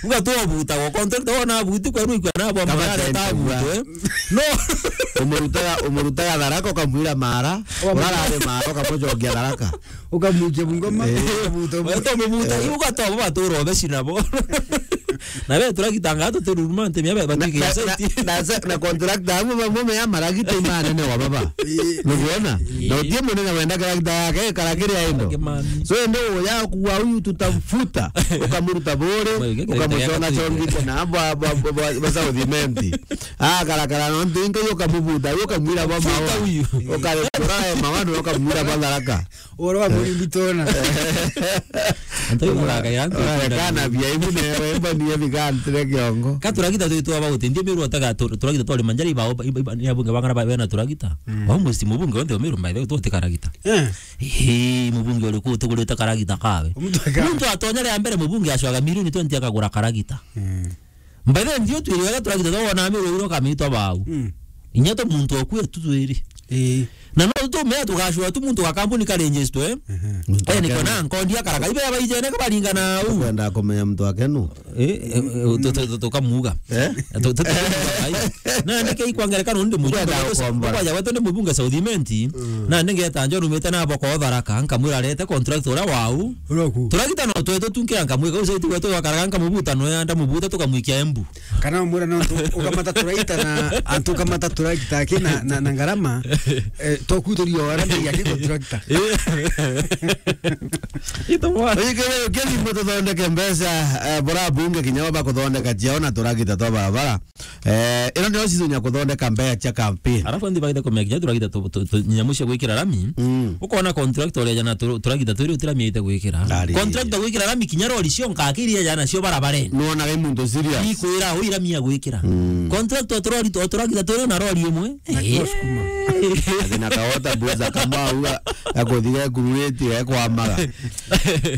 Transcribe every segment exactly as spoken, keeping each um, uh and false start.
Uga tu obutagwo, contractor wona abuti kwa rui kwa nabo. Kama marare tente tabu, bua. Eh? No. Umurutaga, umurutaga Tharaka, ukamwira Mara, urarare Mara, ukamucokia Tharaka. Ukamwikia Bungoma, eh, ukabuta. Wewe to mubuta, eh, iu uga to bo batura obeci nabo. Na be turagitanga atu tururuma ntemi abe. Na, batwike na, site. Na, na, na contractor abo bamwe me amaragita imanene wa baba. Eh. Nukuona? Eh. Na utie munene wenda karagita yake, karakiri aindo. Kake mami. So, ende uya kuwa huyu tutamfuta, ukamuruta bure, wewe, kile ukamucona kile chongite na bwa, bwa, bwa, bwa, bwa South Imenti. Ah, karakara no ntinga yo kamubuta, yo kamwira bwa mawa. Futa huyu. Ukare kurae mawa, no kamwira bwa Tharaka. Oro wa muri mbitona. Anto ibo raka ya anto. Ah, kana bia ibu ne, wemba ni ebi kantire kiongo. Ka turagita twi twa bauti, ndie miru otaga tu-, turagita twari manjari iba, iba, iba, ni abunge bang'ana ba bena turagita. Mm. Wa musti mubunge onthe omiru mbaithe tuti karagita. Eh. Hii, mubunge uriku utigurite karagita kawe? Muntu aka- Muntu atonya ria mbere mubunge acwaga milioni twenty akagura karagita. Mm. Mbaithe ndio twiri wega turagita twona miru iro kamitwa bau. Mm. Inya to muntu okue tu twiri. Eh. Na no tumea tugacwa tu muntu ga kampuni ka register, eh? Mhm. Muntu akenu. Eh, niko na nkondi akaraka. Ibe abaijene kabaringana u. Kwenda kumenya muntu akenu. Eh, eh, eh, tu-, tu-, tu-, tukamuga. Eh? Tu-, tu-, tukamuga, ai. Na ndike ikwangerekana ndi mujumbe. Kwenda wetu, ukomba. Kwaja wetu ndi mubunge South Imenti. Mm. Na ndingeta njo rumite na boko Tharaka, nkamwira arete contract uria wau. Uria ku. Turagita no twetu tunkira nkamwika, ucio iti wetu wakaraga nkamubuta, no yanda mubuta tukamwikia Embu. Kana umwira no tu-, ukamata turagita na, antu ukamata turagita aki na, na, na ngarama, eh, toku turio ara ndai aki contractor. Ito mwana. Oye, kere, kere, mbo tuthondeke mbeca, eh, bora bunge kinya baba kuthondeka ciao na turagita twa barabara. Eh, ino ndio season ya kuthondeka mbeca cia campaign. Alafu ndi bagite kumenya kinya turagita tu, tu, tu, nyamu cia gwikira rami. Mm. Ukona contractor uria jana tu, turagita turi utiramite gwikira. Ari. Contractor gwikira rami kinya rori cio nkakiri jana cio barabarene. Nuona gai muntu serious. Ikwira ui rami ya gwikira. Mm. Contractor turori tu, turagita turi na rori imwe. Na Eh. Kusukuma. Ati na kawota buza kamau ya kuthige kururiti ya kwamaga.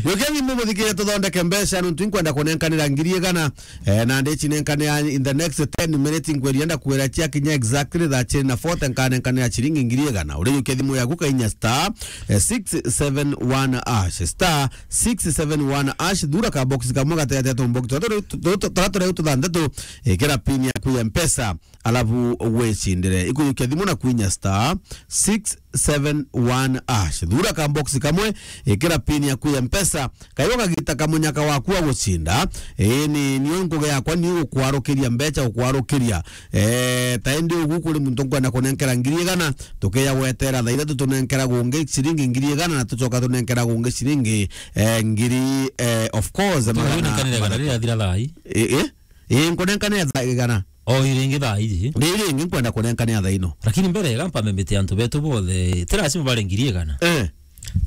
Yoke ni muthikire tuthondeke mbeca nuntu inkwenda kunenkanira ngiri igana. Eh, na ndici nenkane ya in the next ten minutes, nkwiri enda kwira cia kinya exactly thaa ciiri na forty, nkanenkane ya ciringi ngiri igana. Urijukia thimu yaku kainya star, eh, six seven one hash, star six seven one hash, thura ka box kamwe gateete tumbox turia turi tuthanthatu, ikira pin yaku ya Mpesa, alafu wicindire. Ikujukia thimu na kwinya star six seven one hash. Thura ka box kamwe, ikira pin yaku ya Mpesa, kayo kagita kamunyaka waku wa gucinda. Ii, ni, nio ngugi yakwa ni gukwarukiria mbeca, gukwarukiria. Eh, ta indi ugu kuri muntu nkwenda kunenkera ngiri igana, tukeya gwetera thaa ithatu tunenkera gungi ciringi ngiri igana, na tucoka tunenkera gungi ciringi, eh, ngiri, eh, of course, magana, magana. Nkanire kana riria athira thaa ii. Ii, ii. Ii, nkunenkanira thaa igana. O iri ingi thaa iji. Riri ingi nkwenda kunenkanira thaa ino. Lakini mbere, ega mpambe mbite antu betu bothe, ti lazima bare ngiri igana. Eh.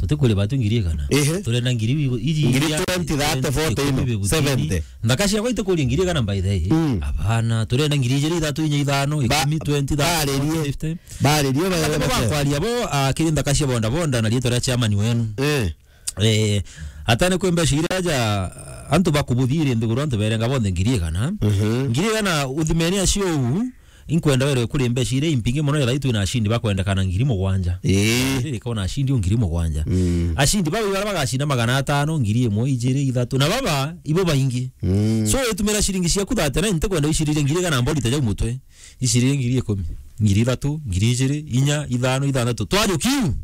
Tutikwire batu ngiri igana. Ehe. Turenda ngiri igu-, iji ngiri iria, twenty, thirty, forty ino, ikumi, fifteen. Seventy. Nthaka ciakwa itikuria ngiri igana by the way. Mm. Abana, turenda ngiri ijiri, ithatu, inya, ithano, ba-, ikumi, twenty, thirty, baririe, forty, fifty. Baririe, ba-, ba-, bakwaria bo, ah, kiri nthaka cia boda boda na riitwa ria chairman wenu. Eh. Eh, atane kwi mbeca iria aja, antu bakubuthiri nthiguru, antu berenga bonthe ngiri igana. Mhm. Ngiri igana uthimeni acio uu, inkwenda werwe kuri mbeca iria impingi mono, ethai twina ashindi bakwendekana ngiri mugwanja. Ii. Riri kona ashindi o ngiri mugwanja. Mm. Ashindi baba ibaria bagacinda magana atano, ngiri imwe, ijiri, ithatu. Na baba, ibo baingi. Mm. So, itumira ciringi ciaku thirty-nine, ntikwenda icirire ngiri igana mborite jau mutwe. Icirire ngiri ikumi, ngiri ithatu, ngiri ijiri, inya, ithano, ithanthatu. Twajukiu.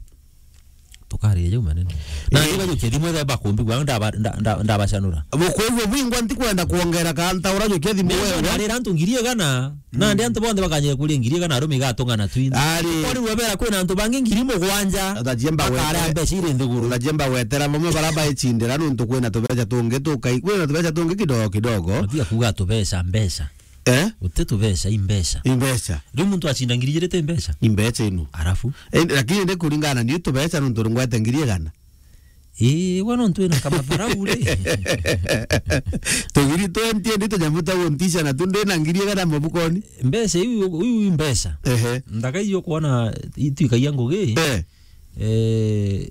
Tukariria jau manene. Na ii, ndibajukia thimu etheba kumbigua, ndaba-, nda-, nda-, ndabacanura. Bukwigua bwingwa ntikwenda kwongera ka ntaura jukia thimu. Ndio wewe. Narira antu ngiri igana, mm, nandi antu bonthe bakanyira kuria ngiri igana, arume igatung'ana twinthe. Ari. Kori wabera kwina antu bangi ngiri mugwanja. Utajemba bakarea gwete-, mbeca iri nthiguru. Utajemba gwetera bamwe bara baicindira nuntu kwina tubeca tungi tukai-, kwina tubeca tungi kidogo kidogo. Matia kuga tubeca, mbeca. Eh? Uti tubeca, i mbeca. I mbeca. Riu muntu acinda ngiri ijiri ti mbeca? I mbeca ino. Arafu? Eh, lakini ndi kuringana ni tubeca nuntu ngwete ngiri igana. Ii, we nontu wina kamatharau ri. Tugiri twenty ndi tunyamu twa guntisha na tu ndina ngiri igana mabukoni. Mbeca iu, iu i mbeca. Ehe. Nthaka iu ukwona itwikagia ngugi. Eh. Eh,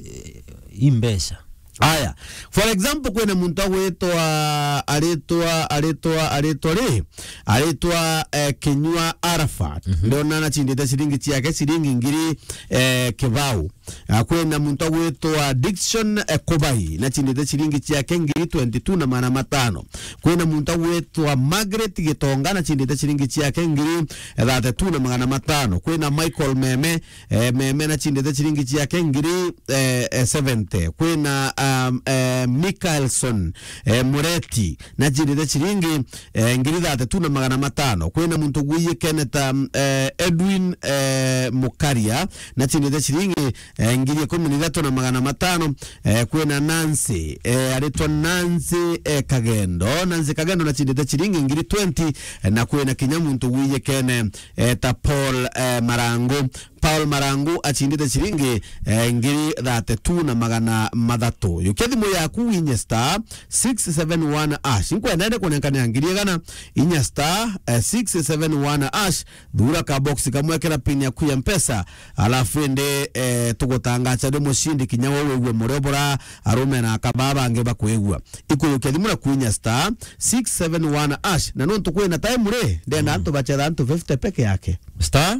i mbeca. Aya. For example, kwina muntu agwitwa, aritwa, aritwa, aritwa ri? Aritwa, eh, Kinyua Arafat. Mhm. Ndona anacindite ciringi ciake, ciringi ngiri, eh, kibao. Ah, kwina muntu agwitwa Dickson, eh, Kubai, na chindite chiringi chiake ngiri twenty-two na magana matano. Kwina muntu agwitwa Margaret Gitonga, na chindite chiringi chiake ngiri, eh, thirty-two na magana matano. Kwina Michael Meme, eh, Meme, na chindite chiringi chiake ngiri, eh, eh, seventy. Kwina, um, eh, Michaelson, eh, Mureti, na chindite chiringi, eh, ngiri thirty-two na magana matano. Kwina muntu gwiyikene ta, eh, Edwin, eh, Mukaria, na chindite chiringi, eh, ngiri ikumi na ithatu na magana matano. Eh, kwina Nancy, eh, aritwa Nancy, eh, Kagendo. Nancy Kagendo na chindite chiringi ngiri twenty, eh, na kwina kinya muntu gwiyikene, eh, ta Paul, eh, Marangu. Paul Marangu achindite chiringi, eh, ngiri thirty-two na magana mathatu. Yukia thimu yaku winye star six seven one hash. Nkwenda ende kunenkanira ngiri igana, inya star, eh, six seven one hash. Thura ka box kamwe, kira pin yaku ya Mpesa, alafu indi, eh, tugutangacha ndi mushindi kinya we wigue murio bura arume na akaba bangi bakwigua. Ikuyukia thimu na kwinya star six seven one hash. Na nontu kwina time ri, ndenda antu bachetha antu fifty peke yake. Star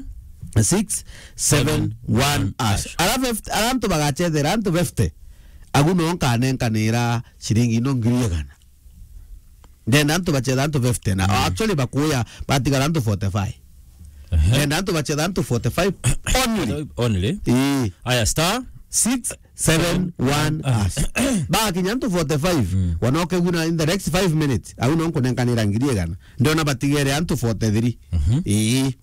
six seven one hash. Ara fifty, ara antu bagachethera antu fifty, agu no nkanenkanira ciringi ino ngiri igana. Ndenda antu bachetha antu fifty na actually bakuya batigara antu forty-five. Ehe. Ndenda antu bachetha antu forty-five only. Only? Ii. Aya, star six seven one hash. Bakinya antu forty-five, wanoke guna in the next five minutes, au no nkunenkanira ngiri igana. Ndona batigere antu forty-three. Mhm. Ii.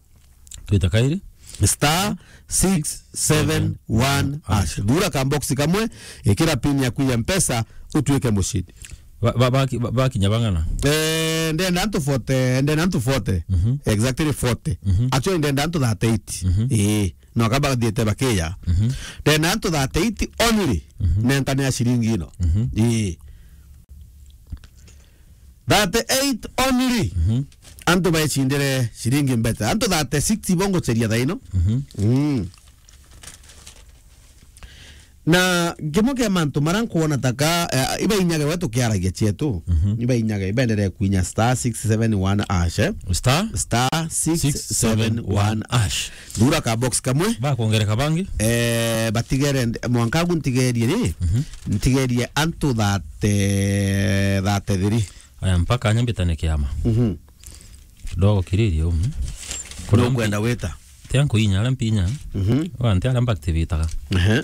Twita kairi? Star six seven one hash. Thura ka box kamwe, ikira pin yaku ya Mpesa, utuike mushindi. Ba-, ba-, baki-, ba-, bakinya bang'ana? Eh, ndenda antu forty, ndenda antu forty. Mhm. Exactly forty. Mhm. Actually, ndenda antu thirty-eight. Mhm. Ii. No kaba bathiete bakiya. Mhm. Ndenda antu thirty-eight only. Mhm. Nenkane ya ciringi ino. Mhm. Ii. Thirty-eight only. Mhm. Antu baicindire ciringi mbete. Antu thirty-six ibo ngucheria thaino. Mhm. Mm. Na kimwe kia mantu mara nkuona taka, eh, ibainyage we tukiaragia chietu. Mhm. Ibainyage, ibenderee kwinya star six seven one hash, eh? Star star six seven one hash. Thura ka box kamwe. Bakwongereka bangi? Eh, batigere nd-, mwanka agu ntigerie ri? Mhm. Ntigerie antu thirty, thirty-three. Aya, mpaka nyambitane kiama. Mhm. Kidogo kiririe umu. Kuna ukwenda mpi-, wita? Tia nkuinya aria mpinya. Mhm. Wa nti aria mbaactivitaga. Ehe.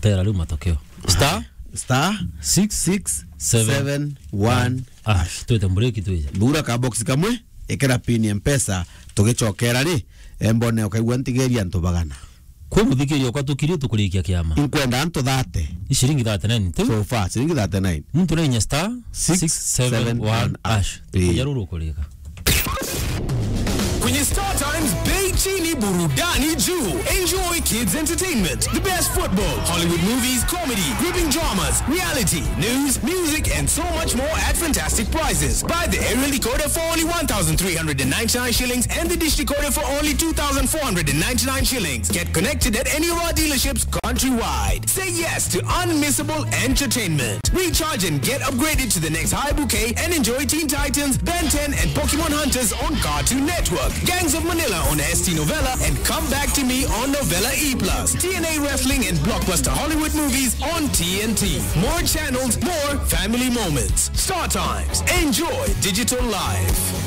Tera riu matokeo. Star star six six seven one hash. Twite mbureki twije. Thura ka box kamwe, ikira pin ya Mpesa, tugicokera ri, eh, mbone ukaigua ntigeria antu bagana. Kwi muthikiria ukwa tukirie tukurikia kiama. Inkwenda antu thirty. I ciringi thirty-nine tu? So far, ciringi thirty-nine. Muntu na inya star six seven one hash. Ii. Kuja ruru ukurika. Kwenye Star Times, bei chini, burudani juu. Enjoy kids entertainment, the best football, Hollywood movies, comedy, gripping dramas, reality, news, music, and so much more at fantastic prices. Buy the aerial decoder for only one thousand three hundred and ninety-nine shillings and the dish decoder for only two thousand four hundred and ninety-nine shillings. Get connected at any of our dealerships countrywide. Say yes to unmissable entertainment. Recharge and get upgraded to the next high bouquet and enjoy Teen Titans, Ben ten, and Pokemon Hunters on Cartoon Network. Gangs of Manila on S T Novella, and Come Back to Me on Novella E plus. T N A Wrestling and blockbuster Hollywood movies on T N T. More channels, more family moments. Star Times. Enjoy digital life.